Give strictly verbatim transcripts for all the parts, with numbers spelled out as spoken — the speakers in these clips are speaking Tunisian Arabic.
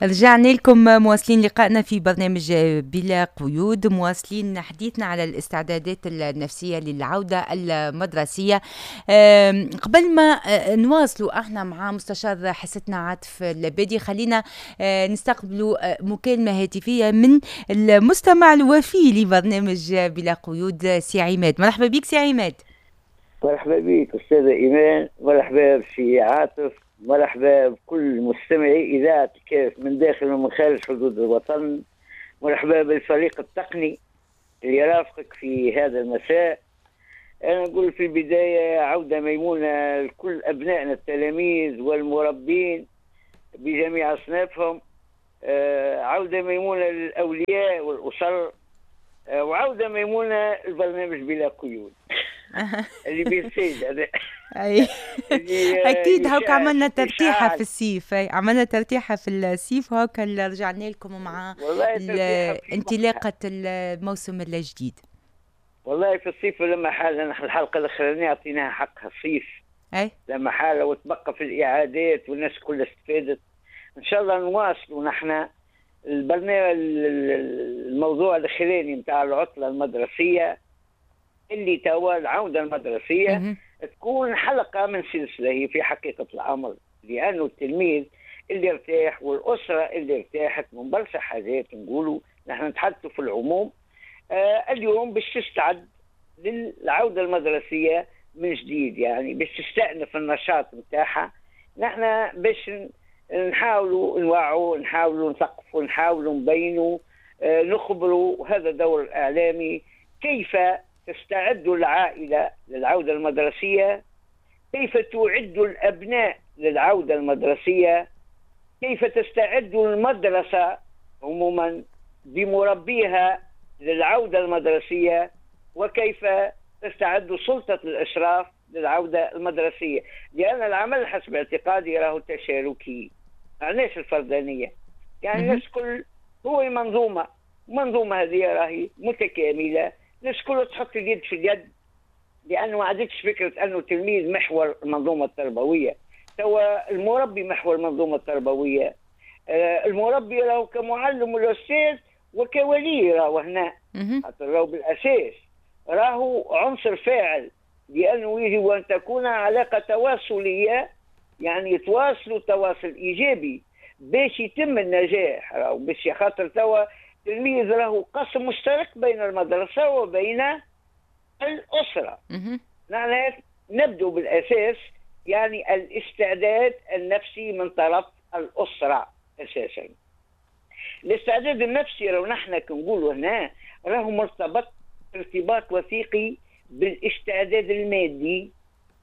رجعنا لكم مواصلين لقائنا في برنامج بلا قيود، مواصلين حديثنا على الاستعدادات النفسية للعودة المدرسية. قبل ما آه، نواصلوا احنا مع مستشار حصتنا عاطف اللبادي، خلينا آه، نستقبلوا آه، مكالمة هاتفية من المستمع الوفي لبرنامج بلا قيود، سي عماد. مرحبا بك سي عماد. مرحبا بك أستاذة إيمان، مرحبا بسي عاطف، مرحبا بكل مستمعي إذاعة الكاف من داخل ومن خارج حدود الوطن، مرحبا بالفريق التقني اللي يرافقك في هذا المساء. أنا أقول في البداية عودة ميمونة لكل أبنائنا التلاميذ والمربين بجميع أصنافهم، آه، عودة ميمونة للأولياء والأسر، آه، وعودة ميمونة البرنامج بلا قيود اللي بيسيد هذا. اي اكيد، هاك عملنا ترتيحه في الصيف، عملنا ترتيحه في الصيف وهاك رجعنا لكم مع انطلاقة الموسم الجديد. والله في الصيف لما حالة نحن الحلقة الاخرانية اعطيناها حقها الصيف. اي لما حاله وتبقى في الاعادات والناس كلها استفادت. ان شاء الله نواصلوا نحن البرنامج، الموضوع الاخراني نتاع العطلة المدرسية اللي توا العودة المدرسية تكون حلقة من سلسلة هي في حقيقة الامر، لانه التلميذ اللي ارتاح والاسرة اللي ارتاحت من برشا حاجات، نقولوا نحن نتحدثوا في العموم، آه اليوم باش تستعد للعودة المدرسية من جديد، يعني باش تستأنف النشاط نتاعها. نحن باش نحاولوا نوعوا، نحاولوا نثقفوا، نحاولوا نبينوا، آه نخبروا، هذا دور الاعلامي، كيف تستعد العائلة للعودة المدرسية، كيف تعد الأبناء للعودة المدرسية، كيف تستعد المدرسة عموما بمربيها للعودة المدرسية، وكيف تستعد سلطة الإشراف للعودة المدرسية. لأن العمل حسب اعتقادي راهو تشاركي، معناش الفردانية، يعني الناس كل هو منظومة، منظومة هذه راهي متكاملة، الناس كلها تحط اليد في اليد، لانه ما عادتش فكرة انه التلميذ محور المنظومة التربوية، توا المربي محور المنظومة التربوية. آه المربي راهو كمعلم والاستاذ وكولي راهو هنا، خاطر راهو بالاساس راهو عنصر فاعل، لانه يجب ان تكون علاقة تواصليه، يعني يتواصلوا تواصل ايجابي باش يتم النجاح، راهو باش خاطر توا التلميذ راهو قسم مشترك بين المدرسة وبين الأسرة. نحن نبدو بالأساس يعني الاستعداد النفسي من طرف الأسرة أساسا. الاستعداد النفسي لو نحن كنقولوا هنا راهو مرتبط ارتباط وثيقي بالاستعداد المادي،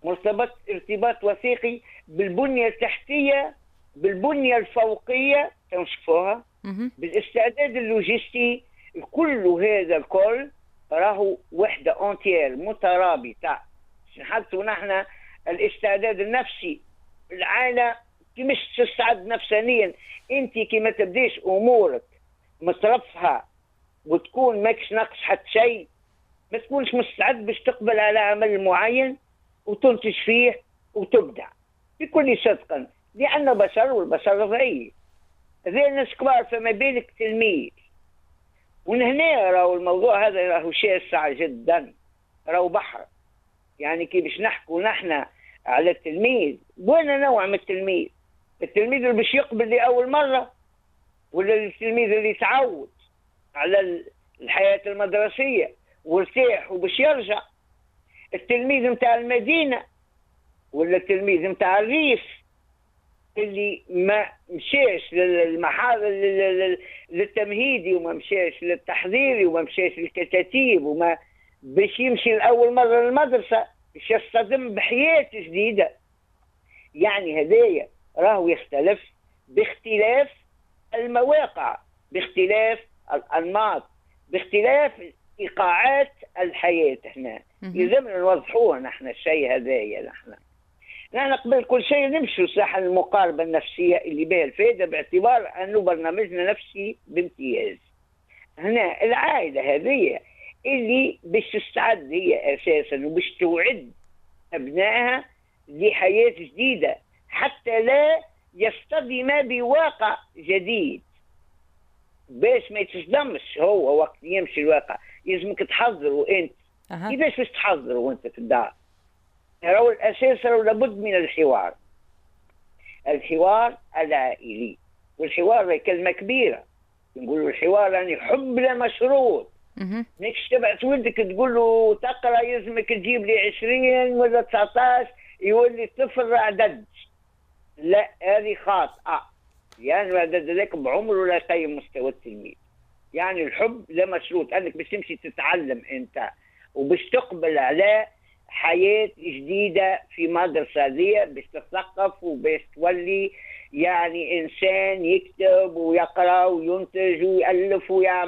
مرتبط ارتباط وثيقي بالبنية التحتية، بالبنية الفوقية تنشوفوها، بالاستعداد اللوجستي. كل هذا الكل راهو وحده entière مترابطة. نحطوا نحن الاستعداد النفسي، العائلة كيفاش تستعد نفسانيا، انت كي ما تبديش امورك مترفهه وتكون ماكش ناقص حتى شيء، ما تكونش مستعد باش تقبل على عمل معين وتنتج فيه وتبدع بكل صدق، لان بشر والبشر ضعيف، هذا الناس كبار فما بالك تلميذ. ومن هنا راهو الموضوع هذا راهو شاسع جدا، راهو بحر. يعني كي باش نحكوا نحن على التلميذ، وين نوع من التلميذ؟ التلميذ اللي باش يقبل لأول مرة، ولا التلميذ اللي تعود على الحياة المدرسية وارتاح وباش يرجع؟ التلميذ نتاع المدينة ولا التلميذ نتاع الريف اللي ما مشاش للمحاضر للتمهيدي وما مشاش للتحضيري وما مشاش للكتاتيب، وما باش يمشي لأول مرة للمدرسة باش يصطدم بحياة جديدة. يعني هذايا راهو يختلف باختلاف المواقع، باختلاف الأنماط، باختلاف إيقاعات الحياة. هنا يلزمنا نوضحوه نحن الشيء هذايا. نحن نحن قبل كل شيء نمشوا صح المقاربة النفسية اللي بها الفائدة، باعتبار أنه برنامجنا نفسي بامتياز. هنا العائلة هذه اللي باش تستعد هي أساسا وباش توعد أبنائها لحياة جديدة، حتى لا يصطدم بواقع جديد باش ما يتصدمش هو وقت يمشي الواقع. يلزمك تحضره انت. أه. كيفاش باش تحضره وانت في الدار؟ راهو الاساس راهو لابد من الحوار، الحوار العائلي. والحوار كلمة كبيرة، نقولوا الحوار يعني حب لا مشروط. ماكش تبعث ولدك تقول له تقرا يلزمك تجيب لي عشرين ولا تسعطاش يولي الطفل عدد. لا، هذه خاطئه، لأن العدد هذاك بعمره لا يقيم مستوى التلميذ. يعني الحب لا مشروط، انك باش تمشي تتعلم انت وباش تقبل على حياة جديدة في مدرسة ذي، باش تتثقف وباش تولي يعني إنسان يكتب ويقرأ وينتج ويألف ويعمل.